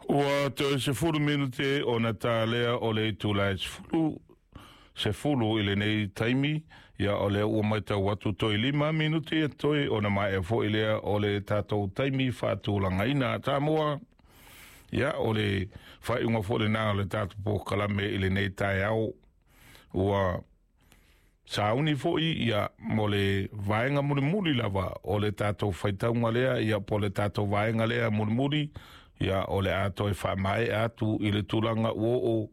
Ua toe 10 minute ona talea o le itula e 10 10 i lenei taimi. Ia, o lea ua matau atu toe 5 minute e toe ona maea foi lea o le tatou taimi faatulagaina a Samoa. Ia, o le faaiuga foi lena o le tatou polokalame i lenei taeao. Ua sauni foi ia mo le vaega mulimuli lava o le tatou faitauga lea, ia po le tatou vaega lea mulimuli, ia o le a toe faamaea atu i le tulaga ua oo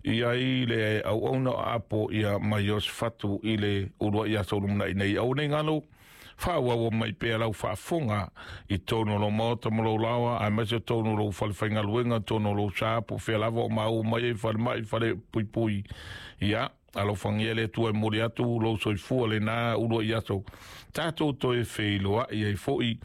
i ai le auauna o Apo ia mai Iosefatu i le uluai aso lumanai nei. Aua nei galo, faaauau mai pea lau faafofoga i totonu o lou maota ma lou laoa, aemaise totonu o lou falefaigaluega, totonu o lou sa, po o fea lava o maua mai ai, falemai, fale puipui. Ia, alofagia le Atua e momoli atu lou soifua lena uluai aso tatou toe feiloai ai foi.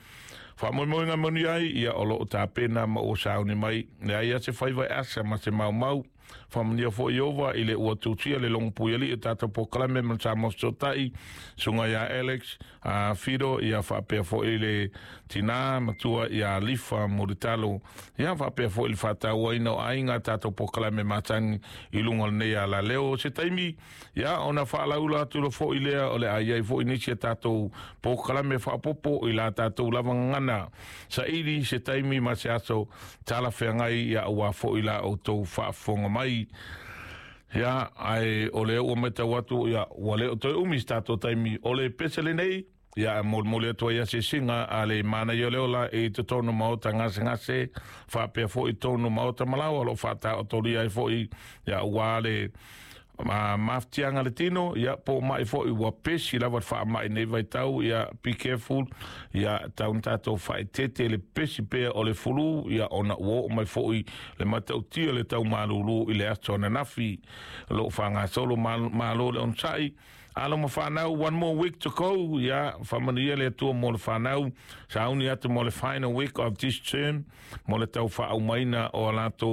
Faamoemoega moni ai, ia o loo tapena ma ua sauni mai, leai a se faiva e asa ma se maumau. Faamanuia foi Ieova i le ua tusia le logo puialii o tatou polokalame ma le Samoa Fesootai, susuga ia Alex a Fido, ia faapea foi le tina matua ia Lifa Mulitalo, ia faapea foi le faatauaina o aiga tatou polokalame masani i luga o lenei alaleo. Se taimi, ia ona faalaula atu lo foi lea o le a i ai foi nisi a tatou polokalame faaopoopo i la tatou lava gagana saili se taimi ma se aso talafeagai, ia aua foi la outou faafofoga mai. Ia, ae o lea ua matau atu, ia ua le o toe umi se tatou taimi o le pese lenei. Ia, e molimoli atu ai asiasiga a le manaia o le ola i totonu maota gasegase, faapea foi totonu maota malaoa o lo o faataotolia ai foi, ia aua le mafatiaga le tino, ia po o mai foi ua pesi lava le faamai nei vaitau. Ia, be careful, ia tau na tatou faaeteete le pesi pea o le flu, ia ona ua oo mai foi le matautia le tau malulu i le aso ananafi o lo o faagasolo. Malo le onosai, alo ma fanau, one more week to go. Ia faamanuia le Atua mo le fanau sauni atu mo le final week of this term mo le tau faaaumaina o a latou